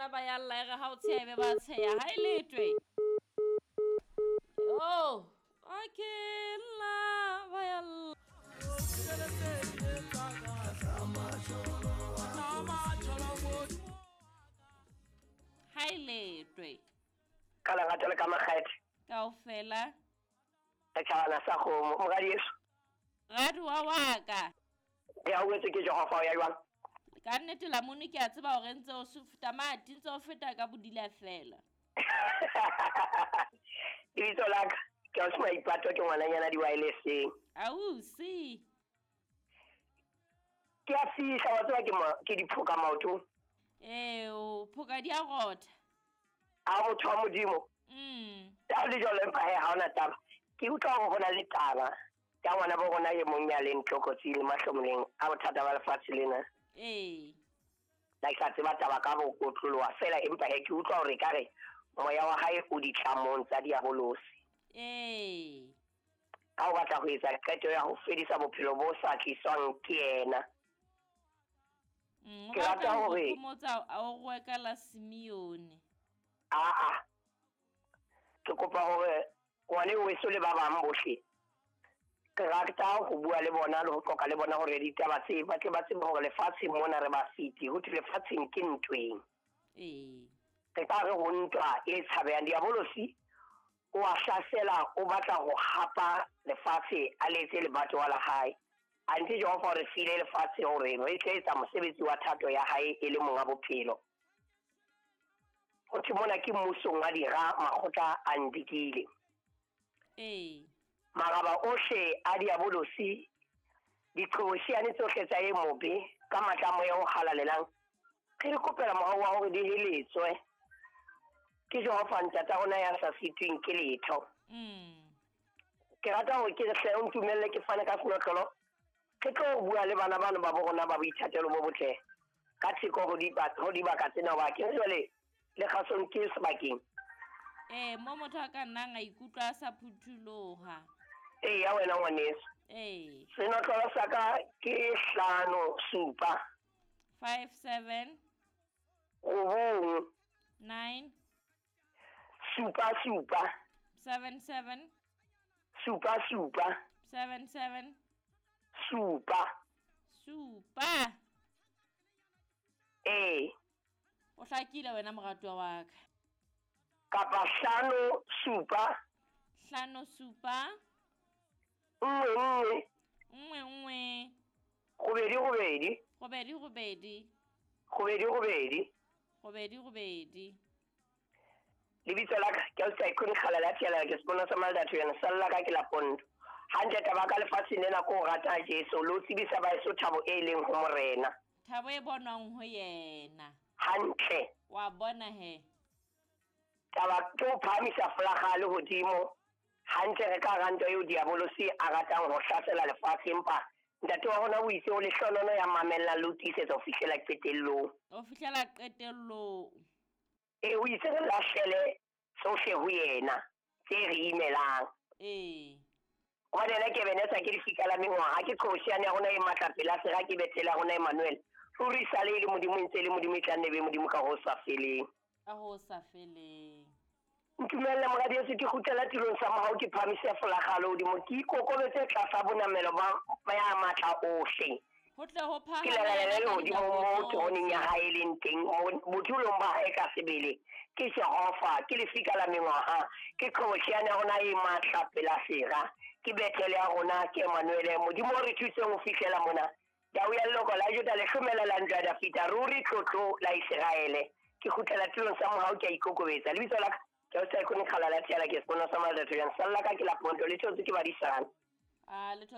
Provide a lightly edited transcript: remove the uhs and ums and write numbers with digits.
Bana ba ya lla e re ha o tsheha ebe ba tsheha. Ha e letwe. Oh, okay, lla ba ya lla. Ha e letwe. Ka lerato le ka makgethe. Kaofela. Setjhabana sa kgomo, moradi yeso. Raduwa wa ka. Re hauhetswe ke Jehova o ya jwang? Ka nnete lamone ke a tseba hore ntse o tamati ntse o feta ka bodila fela. Lebitso la ka ke Ausi Maipato, ke ngwananyana di-wirelesseng. Ausi. Ke a fihla wa tseba ke ke diphoka maotong. Ee, o phoka di a rotha. A motho wa Modimo. Ya le jwalo empa he ha hona taba. Ke utlwa hore ho na le taba ya ngwana bo rona e mong ya leng tlokotsing le mahlomoleng a bothata ba lefatshe lena. Ee. La ke sa tseba taba ka bo kotloloha fela empa he ke utlwa hore ekare moya wa hae o ditlamong tsa diabolosi. Ee. Ka o batla ho etsa qeto ya ho fedisa bophelo bo sa tliswang ke yena. O Ke rata batla ho hore phomotsa a o rwe ka la Simeone. Aa. Ke kopa hore ngwane weso le ba bang bohle ke rata ho bua le bona le ho qoqa le bona hore ditaba tse ba tle ba tsebe hore lefatsheng mona re ba fiti ho thwe lefatsheng ke ntweng. Ee. Re ka re ho ntwa e tshabehang diabolosi o a hlasela o batla ho hapa lefatshe a le etse lebatowa la hae. Anthe Jehova o re file lefatshe hore re tle etsa mosebetsi wa thato ya hae e le monga bophelo. Ho thwe mona ke mmusong wa dira makgotla a ndikile. Ee. Maraba ohle a diabolosi, diqhobosheane tsohle tsa e mobe ka matla a moya o halalelang, re di kopela mohau wa hore di heletswe ke Jehova ntata rona ya sa sitweng ke letho. Ke rata hore ke hle o ntumelle ke fane ka senotlolo, re tlo bua le bana bano ba bo rona ba boithatelo bo botle ka theko ho dibaka tsena hoba ke jwale le kgasong ke sebakeng. Ee, mo motho a ka nnang a ikutlwa a sa phuthuloha. Ee, ya wena ngwaneso. Ee. Senotlolo sa ka ke 5 7. 5 7. 9. 9. 7 7. 7 7. 7 7. 7 7. 7. 7. Ee. O hlakile wena moratuwa wa ka. Kapa 5 7. 5 7. 1 1. 1 1. 2 2. 2 2. 2 2. 2 2. Lebitso la ka ke Ausi Tycoon Kgalala Thiela, ke sepono sa Maldatho yena salla ka ke la Ponto. Hantle taba ka lefatsheng lena ko rata Jesu le ho tsebisa baeso thabo e leng ho Morena. Thabo e bonwang ho yena. Hantle. Wa bona he. Taba ke ho phahamisa folaga le hodimo. Hantle re ka rantwa eo diabolosi a ratang ho hlasela lefatshe empa ntate wa rona o itse o lehlonono ya mamellang le ho tiisetsa ho fihlela qetellong. Ho fihlela qetellong. Ee, o itse re lahlele tsohle ho yena tse re imelang. Ee. Hobane yena ke Ebenezer ke lefika la mengwaha, ke qhobosheane ya rona e matla pela sera, ke Bethele ya rona Emmanuel. Ruri sale e le Modimo, e ntse e le Modimo, e tla nne be Modimo ka ho sa feleng. Ka ho sa feleng. Ntumelle moradi Yesu ke kgutlela tulong sa mohau, ke phahamise folaga le hodimo, ke ikokobetse tlasa bonamelo ba ya matla ohle. Ho tle ho Ke lalela le hodimo mo teroneng ya hae e leng teng, bodulong ba hae ka sebele. Ke Jehova, ke lefika la mengwaha, ke qhobosheane ya rona e matla pela sera, ke Bethele ya rona, ke Emmanuel. Modimo o re thuseng ho fihlela mona. Tau ya leloko la Juda, lehlomela la ntlo ya Dafita, ruri tlotlo la Iseraele. Ke kgutlela tulong sa mohau, ke a ikokobetsa. Lebitso la ka ke Ausi Tycoon Kgalala Thiela, ke sepono sa Maldatho jang. Salla ka ke la Ponto, le theotswe ke badisana. A le